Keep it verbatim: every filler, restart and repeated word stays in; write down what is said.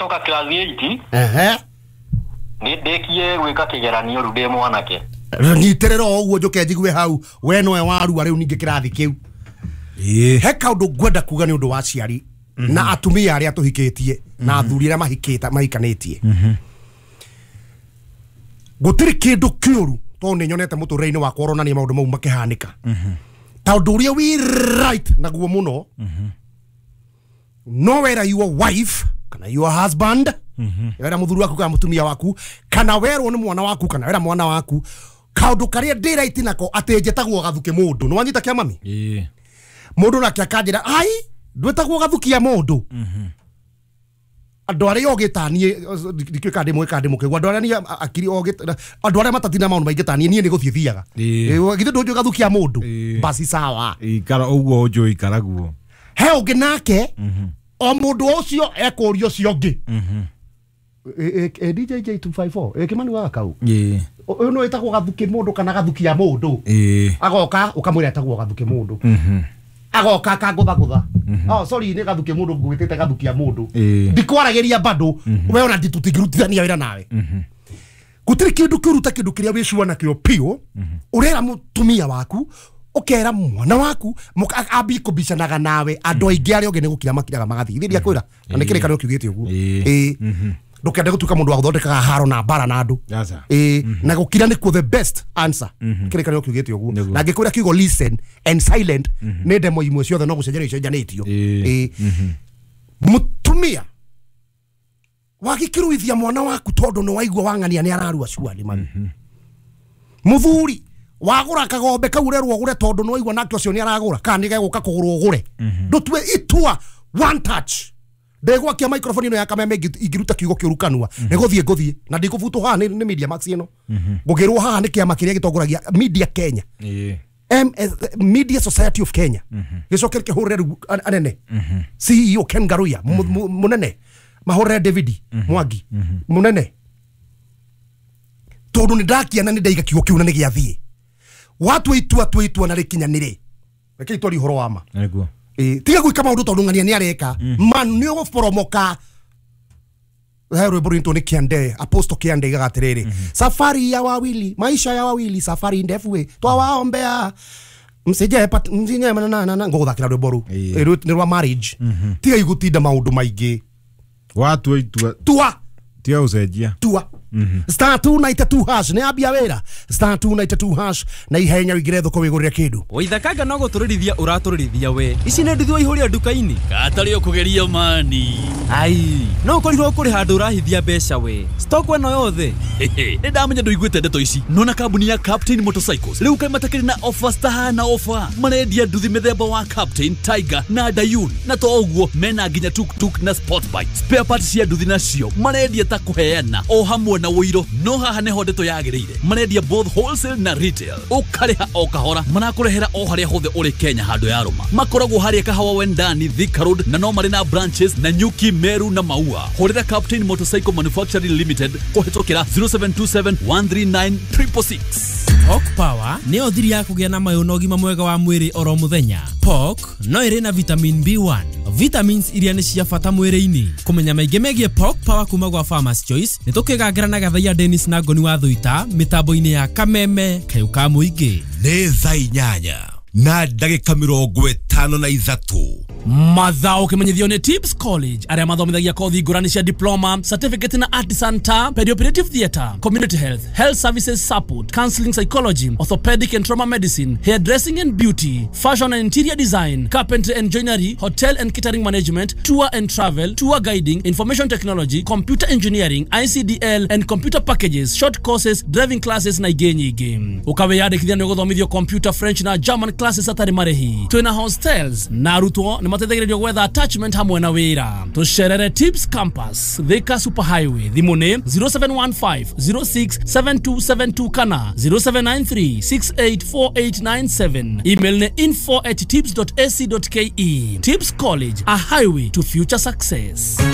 Toka class eight. Ehe. Nĩ ndĩkie gwĩka kĩgeranio rĩu ndĩ mwanake. Nyitĩrĩra o ũguo njũke njigue hau we nowe warua rĩu ningĩ kĩrathi kĩu. Ĩĩ. He kaũndũ ngwenda kuga nĩ ũndũ wa aciari na atumia arĩa tũhikĩtie na athuri arĩa mahikĩte mahikanĩtie. Gũtirĩ kĩndũ kĩũru tondũ nĩ nyonete mũtũrĩre-inĩ wakwa ũronania maũndũ mau makĩhanĩka. Ta ũndũ ũrĩa wĩ right naguo mũno no wera your wife kana your husband, wera mũthuri waku kana mũtumia waku, kana werwo nĩ mwana waku kana wera mwana waku kaũndũ karĩa ndĩ right nako atĩ njĩtagwo gathuki mũndũ. Nĩ wanyita kĩa mami? Ĩĩ. Mũndũ nake akanjĩra ai ndwĩtagwo gathukia mũndũ. Andũ arĩa ogĩ ta niĩ ndikĩũĩ kana ndĩ mũgĩ kana ndĩ mũkĩgu, andũ arĩa niĩ akiri ogĩ, andũ arĩa matatina maũndũ maingĩ ta niĩ, niĩ nĩ gũthiĩ thiaga. Ĩĩ. Githĩ ndũnjũĩ gathukia mũndũ? Ĩĩ. Basi sawa. Ikara ũguo ũnjũĩ ikara guo. He ũngĩ nake o mũndũ ũcio ekũria ũcio ũngĩ. D J J two five four Kĩmani wa kau. Ĩĩ. Ũyũ nĩ wĩtagwo gathuki mũndũ kana gathukia mũndũ. Ĩĩ. Agoka ũkamwĩra etagwo gathuki mũndũ. Agoka akangũthagũtha. Oh sorry nĩ gathuki mũndũ ngwĩtĩte gathukia mũndũ. Ndikwaragĩria bado we ona nditũtingĩrutithania wĩra nawe. Gũtirĩ kĩndũ kĩũru ta kĩndũ kĩrĩa wĩcua nakĩo piũ ũrera mũtumia waku ũkera mwana waku ambie kũbicanaga nawe andũ aingĩ arĩa ũngĩ nĩ gũkira makiraga magathiĩ. Ithe ndiakwĩra na nĩ kĩrĩkanĩro kiugĩte ũguo. Ĩĩ. Ndũkende gũtuĩka mũndũ wa gũthondekaga haro na mbara na andũ. Ĩĩ. Na gũkira nĩkuo the best answer. Kĩrĩkanĩro kiugĩte ũguo. Na ngĩkwĩra kiugo listen and silent nĩ ndemo imwe ciothe no gũcenjania icenjanĩtio. Ĩĩ. Mũtumia wagĩkĩruithia mwana waku tondũ nĩ waigua wang'ania nĩ ararua cuari mami. Mũthuri wagũra kagombe kau ũrerwo ũgũre tondũ nĩ waigua nake ũcio nĩ aragũra kana nĩ gegũka kũgũrwo ũgũre. Ndũtue itua one touch. Ndegwakia microphone ĩno ya Kameme ingĩruta kiugo kĩũru kanua nĩ gũthiĩ ngũthiĩ na ndikũbutwo haha nĩ Media Max ĩno. Ngũgĩrwo haha nĩ kĩama kĩrĩa gĩtongoragia Media Kenya. M S Media Society of Kenya. Gĩcoke kĩhũrĩre rĩu anene. C E O Ken Garuya mũnene. Mahũrĩre David Mwangi mũnene. Tondũ nĩ ndakiana nĩ ndaiga kiugo kĩu na nĩ gĩathiĩ. Watua itua tua itua na rĩkinyanĩre. Reke itwari ũhoro wa ma. Nĩguo. Ĩĩ, tiga gwĩka maũndũ tondũ ng'ania nĩ areka. Man nĩ ũgũboromoka. He rwĩmbo rwĩtwo nĩ Kiande, Apostle Kiande igaga atĩrĩrĩ, safari ya wawili, maisha ya wawili, safari ndefu we, twawaombea msije pat msije na na na ngũgũthakĩra rwĩmbo rũu. Nĩ rwa marriage. Tiga igũtinda maũndũ maingĩ. Watua itua. Tua. Tiga gũcenjia. Tua. Star two ninety two hash nĩ ambia wĩra. Star two ninety two hash na ihenya ũingĩre thoko wĩgũrĩre kĩndũ. Waithakanga no gũtũrĩrithia ũratũrĩrithia we. Ici nĩ nduthi waihũria nduka-inĩ. Gatarĩ ũkũgeria mani. Ai, no ũkorirwo kũrĩ handũ ũrahithia mbeca we. Stock ĩno yothe. Nĩ ndamenya ndũiguĩte ndeto ici. Nona kambuni ya Captain Motorcycles rĩu kaĩ matakĩrĩ na offers tahana offer. Marendia nduthi mĩthemba wa Captain, Tiger na Dayun. Na to ũguo mena nginya tuk-tuk na sport bike. Spare parts cia nduthi nacio marendia ta kũheana o hamwe na wũiro. No haha nĩho ndeto yagĩrĩire. Marendia both wholesale na retail. Ũkarĩha o kahora. Marakũrehera o harĩa hothe ũrĩ Kenya handũ ya rũma. Makoragwo harĩa Kahawa Wendani, Thika Road na no marĩ na branches na Nyuki, Meru na Maua. Hũrĩra Captain Motorcycle Manufacturing Limited kũhĩtũkĩra zero seven two seven one three nine triple six. Pork Power nĩyo thiri ya kũgĩa na mayũ na ũgima mwega wa mwĩrĩ oro mũthenya. Pork no ĩrĩ na vitamin B one, vitamins iria nĩ cia bata mwĩrĩ-inĩ. Kũmenya maingĩ megiĩ Pork Power kuma gwa Farmers Choice nĩ tũkĩgangĩra na Gathaiya Dennis na Ngoni wa Thuita mĩtambo-inĩ ya Kameme kayũ ka mũingĩ. Nĩ thaa inyanya na ndagĩka mĩrongo ĩtano na ithatũ. Mathao kimenyithio nĩ Tips College arĩa mathomithagia kothi ngũrani cia diploma, certificate na artisan ta perioperative theatre, community health, health services support, counseling psychology, orthopedic and trauma medicine, hairdressing and beauty, fashion and interior design, carpentry and joinery, hotel and catering management, tour and travel, tour guiding, information technology, computer engineering, I C D L and computer packages, short courses, driving classes na ingĩ nyingĩ. Ũkawĩyandĩkithia nĩ ũgũthomithio computer, French na German classes atarĩ marĩhi. Twĩna hostels na arutwo nĩ mateithagĩrĩrio gwetha attachment hamwe na wĩra. Tũcerere Tips Campus, Thika Super Highway. Thimũ nĩ zero seven one five zero six seven two seven two kana zero seven nine three six eight four eight nine seven. Email nĩ info at tips dot a c dot k e. Tips College, a highway to future success.